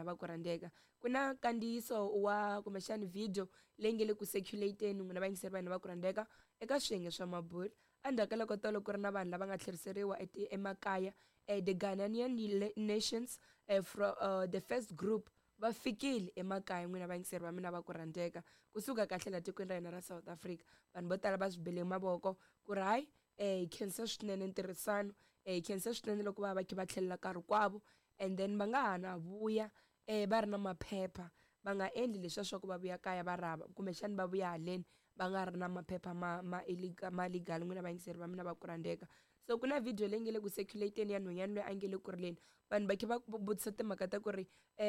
Va ku rhandzeka ku na nkandziyiso wa kumbexani video leyi nge le ku circulate-eni, n'wina vayingiseri va hina va ku rhandzeka, eka swiyenge swa mabulo endzhaku ka loko tolo ku ri na vanhu lava nga tlheriseriwa emakaya, the Ghanaian nations from the first group va fikile emakaya. N'wina vayingiseri va mina va ku rhandzeka, kusuka kahle laha tikweni ra hina ra South Africa, vanhu vo tala va swi bele mavoko ku ri hayi, hi khensa swinene ntirhisano, hi khensa swinene loko va va kha va tlhelela nkarhi kwavo, and then va nga ha na vuya va ri na maphepha, va nga endli leswiya swa ku va vuya kaya va rhava kumbexani va vuya haleni va nga ri na maphepha ma illegal, ma legal. N'wina vayingiseri va mina va ku rhandzeka, so ku na video leyi nge le ku circulate-eni ya nhwanyana loyi a nge le ku rileni. Vanhu va kha va vutisa timhaka ta ku ri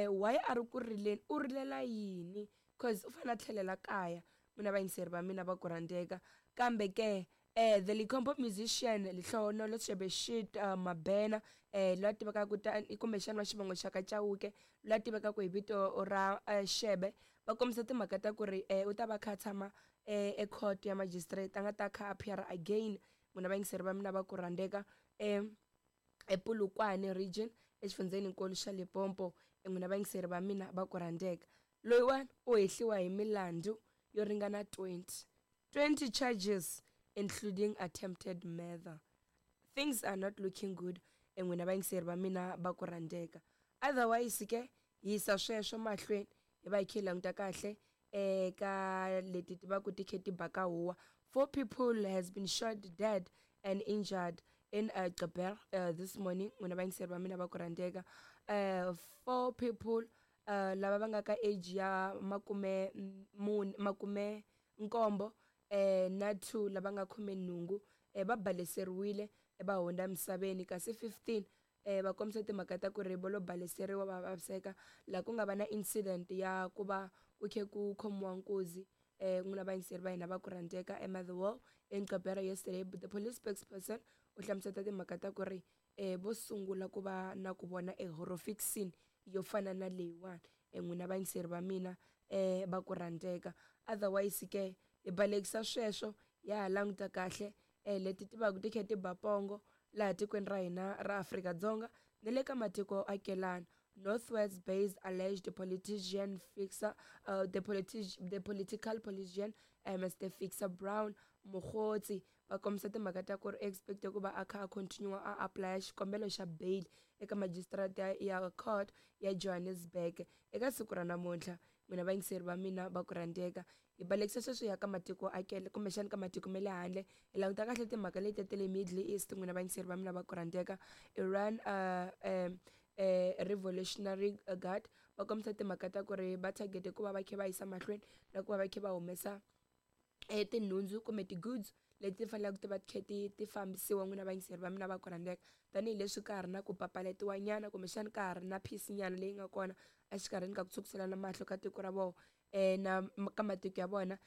why a ri ku rileni, u rilela yini, cause u fanele a tlhelela kaya. N'wina vayingiseri va mina va ku rhandzeka, kambe ke the Limpopo musician Lehlohonolo Shebeshxt Mabena, loyi a tivekaka tani kumbexana wa xivongo xa ka Chauke, loyi a tivekaka hi vito ra Shebe, va kombisa timhaka ta ku ri u ta va kha a tshama e court ya magistrate, a nga ta kha appear again. N'wina vayingiseri va mina va ku rhandzeka, ePolokwane region, exifundzheninkulu xa Limpopo. N'wina vayingiseri va mina va ku rhandzeka, loyiwani u hehliwa hi milandzu yo ringana 20 20 charges, including attempted murder. Things are not looking good, n'wina vayingiseri va mina va ku rhandzeka. Otherwise ke yisa sweswo mahlweni, hi va hi kha hi languta kahle eka leti ti va ku ti khe ti baka huwa. Four people has been shot dead and injured in Gqeberha this morning. N'wina vayingiseri va mina va ku rhandzeka, four people lava va nga ka age ya 44, 77 na 2 lava nga 18 va baleseriwile va hundza emisaveni, kasi 15 va kombisa timhaka ta ku ri vo lo baleseriwa va vaviseka laha ku nga va na incident ya ku va ku khe ku khomiwa nkuzi. N'wina vayingiseri va hina va ku rhandzeka, eMotherwell in Gqeberha yesterday, the police spokesperson u hlamuseta timhaka ta ku ri vo sungula ku va na ku vona e horrific scene yo fana na leyiwani. N'wina vayingiseri va mina va ku rhandzeka, otherwise ke hi balekisa sweswo, ya ha languta kahle leti ti va ku ti kha ti ba pongo laha tikweni ra hina ra Afrika-Dzonga ni le ka matiko akelana. Northwest based alleged politician fixer, the political politician Mr Fixer Brown Mogotsi, va kombisa timhaka ta ku ri expect ku va a kha a continue a apply xikombelo xa bail eka magistrate ya court ya Johannesburg eka siku ra namuntlha. N'wina vayingiseri va mina va ku rhandzeka, hi balekisa sweswo ya ka matiko akele kumbexani ka matiko ma le handle, hi languta kahle timhaka leti ta le Middle East. N'wina vayingiseri va mina va ku rhandzeka, Iran Revolutionary Guard va kombisa timhaka ta ku ri va target ku va va kha va yisa mahlweni na ku va va kha va humesa tinhundzu kumbe ti-goods leti faneleke ti va ti kha ti fambisiwa. N'wina vayingiseri va mina va ku rhandzeka, tanihileswi ka ha ri na ku papalatiwa nyana kumbexani ka ha ri na peace nyana leyi nga kona exikarhini ka ku tshukiselana mahlo ka tiko ra vona na ka matiko ya vona,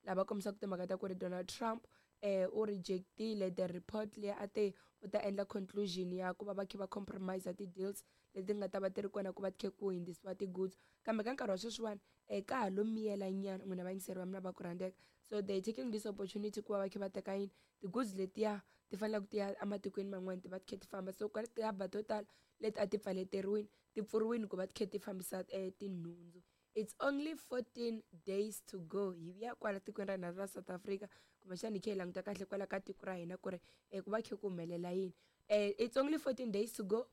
lava kombisaka timhaka ta ku ri Donald Trump u rejectile the report leyi a te u ta endla conclusion ya ku va va kha va compromise ti-deals leti nga ta va ti ri kona ku va ti kha ku hundzisiwa ti-goods, kambe ka nkarhi wa sweswiwani ka ha lo miyela nyana. N'wina vayingiseri va mina va ku rhandzeka, so they taking this opportunity ku va va kha va teka yini, ti-goods letiya ti faneleke ti ya ematikweni man'wani, ti va ti kha ti famba. So ku tihaba to tala leti a ti pfaleteriwini ti pfuriwini ku va ti kha ti fambisa tinhundzu. It's only 14 days to go hi ya kwala tikweni ra hina ra South Africa, kumbexani hi kha hi languta kahle kwala ka tiko ra hina ku ri ku va kha ku humelela yini. It's only 14 days to go.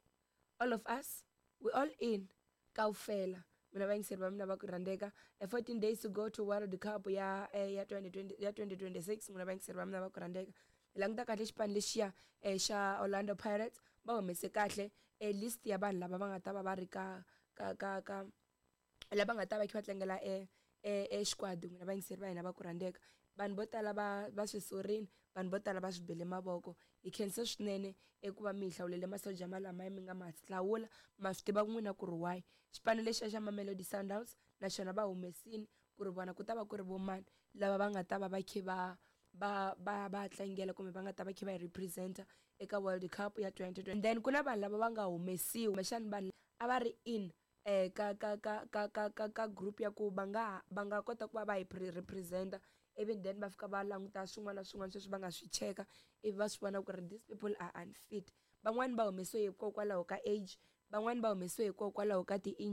All of us, we all in kaufela. Mina vayingiseri va mina va ku rhandzeka, 14 days to go to World Cup ya 2020, ya 2026. N'wina vayingiseri va mina va ku rhandzeka, hi languta kahle xipano lexiya xa Orlando Pirates, va humese kahle list ya vanhu lava va nga ta va va ri ka lava nga ta va kha va tlangela e xikwadi. N'wina vayingiseri va hina va ku rhandzeka, vanhu vo tala va swi sorini, vanhu vo tala va swi bele mavoko. Hi khensa swinene eku va mi hi hlawulele masoja malama mi nga ma hlawula, ma swi tiva n'wina ku ri why. Xipano lexiya xa Mamelodi Sundowns na xona va humesini ku ri vona ku ta va ku ri vo mani lava va nga ta va va kha va tlangela kumbe va nga ta va kha va hi representa eka World Cup ya 2020. And then ku na vanhu lava va nga humesiwa, kumbexani vanhu a va ri in ka group ya ku va nga kota ku va va hi representa, even then va fika va languta swin'wana na swin'wana sweswi va nga swi cheka, ivi va swi vona ku ri these people are unfit. Van'wani va humesiwe hikokwalaho ka age, van'wani va humesiwe hikokwalaho ka ti-injury.